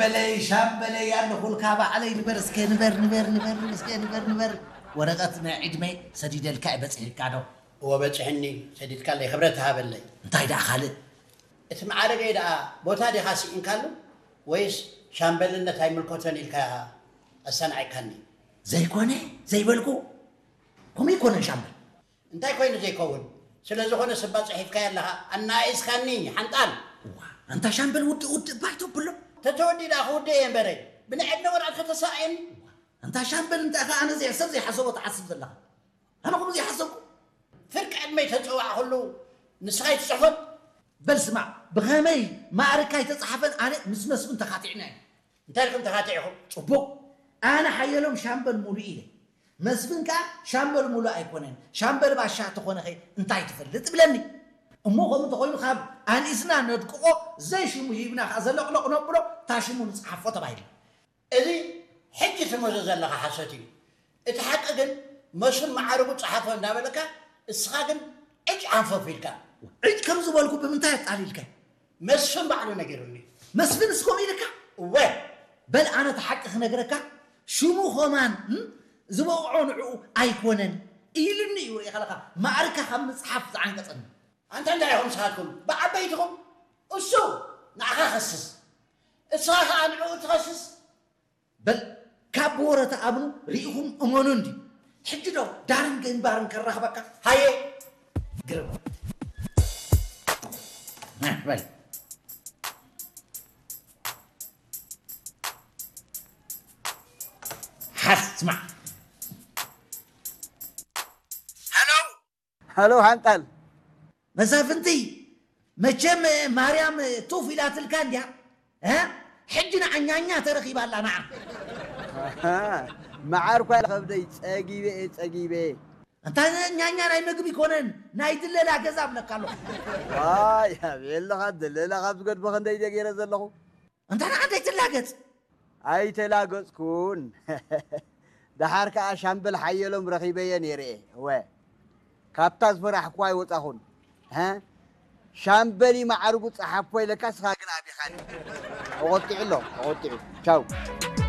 በለይ ሻምበለይ ኣለኹልካ ባዕለይ። ንበር እስከ ንበር ንበር ንበር እስከ ንበር ንበር። ወረቐት ናይ ዕድመይ ሰዲደልካ እዩ፣ በፂሕካ ዶ? እወ በፂሕኒ። ሰዲድካለይ፣ ክብረት ሃበለይ። እንታይ ደኣ ካልእ? እቲ ማዕረገይ ደኣ ቦታ ዲኻ ስኢንካሉ፣ ወይስ ሻምበልነት ኣይምልከቶን ኢልካ ኣሰናዒካኒ? ዘይኮነ ዘይበልኩ። ከምኡ ኣይኮነን ሻምበል። እንታይ ኮይኑ ዘይከውን? ስለ ዝኾነ ስባ ጽሒፍካዮ ኣለኻ፣ ኣናኢስካኒ ሓንጣል። እዋ፣ ኣንታ ሻምበል ውድእ ውድእ ባይቶ ብሎ። ተተወዲ ደኣ ክውድእ እየ እምበረይ፣ ብናይ ዕድመ ወርዓት ከተሳእየኒ። ኣንታ ሻምበል እንታይ ኸ ኣነ ዘይ-፣ ሰብ ዘይሓሰቦ ትሓስብ ዘለኻ? ኣነ ከምኡ ዘይሓሰብኩ። ፍርቂ ዕድመይ ተጸዋዕኩሉ ንስኻ ኣይትጽሕፎን? በል ስማዕ፣ ብኸመይ ማዕርካ ኣይተጻሓፈን ኣነ ምስ መስፍን ተኻቲዕና ኢና። እንታይ ኢልኩም ተኻቲዕኹም? ጽቡቕ። ኣነ ሓየሎም ሻምበል ሙሉእ ኢለ። መስፍን ከኣ ሻምበል ሙሉእ ኣይኮነን፣ ሻምበል ባሻ ተኾነኸ እንታይ ትፈልጥ ይብለኒ። እሞ ከምኡ እንተኾይኑ ካብ ኣንኢስና ነድቅቖ፣ ዘይሽሙ ሂብና ከኣ ዘለቕለቕ ነብሎ፣ እታ ሽሙ ንጽሓፎ ተባሂሉ። እዚ ሕጂ ትምህዞ ዘለኻ ሓሶት እዩ። እቲ ሓቂ ግን መስፍን መዓርጉ ጸሓፎ እንዳበለካ፣ እስኻ ግን ዕጭ ሓንፈፍ ኢልካ። ዕጭ ከም ዝበልኩ ብምንታይ ኣጣሊልካ? መስፍን ባዕሉ ነጊሩኒ። መስፍን እስኮም ኢልካ? እወ። በል ኣነ እቲ ሓቂ ክነግረካ፣ ሽሙ ኸማን፣ እም፣ ዝበቕዖ ንዕኡ ኣይኮነን ኢሉኒ እዩ። ርኢኻ ኣለኻ፣ ማዕርካ ካብ ምጽሓፍ ዝዓንቀጸኒ። ኣንታ እንታይ ኢኹም ንስኻትኩም ብዓበይትኹም? እሱ ንዓኻ ኸስስ፣ እስኻ ኸኣ ንዕኡ ትኸስስ። በል ካብ ብወረ ተኣምኑ ርኢኹም እመኑ እንዲ። ሕጂ ዶ ዳርን ግንባርን ከራኽበካ? ሃየ ግርም። ና፣ በል። ሓስ፣ ስማዕ። ሃሎ። ሃሎ፣ ሓንጣል። መሳፍንቲ፣ መቸም ማርያም ቱፍ ኢላትልካ እንድያ። እ? ሕጂ ንዓ ኛኛ ተረኺባ ኣላ፣ ንዓ። ኣሃ፣ መዓር እኳ ከብደይ ጸጊበ እየ፣ ጸጊበ። እንታ ኛኛ ናይ መግቢ ኮነን፣ ናይ ድለላ ገዛ እብለካ ኣለኹ። ዋይ፣ ኣቤለኻ፣ ድለላ ካብ ዝገድፎ ክንደይ ድየ ገይረ ዘለኹ? እንታ ንዓ ዘይትላገጽ? ኣይተላገጽኩን። ደሓር ከኣ ሻምበል ሓየሎም ረኺበዮ ነይረ እየ። እወ፣ ካብታ ዝፈራሕኩዋ ኣይወጻኹን። ሀ? ሻምበል እዩ መዓርጉ ጸሓፎ ኢለካ፣ እስኻ ግን ኣቢኻኒ። ተቖጢዑ ኣሎ፣ ተቖጢዑ። ቻው።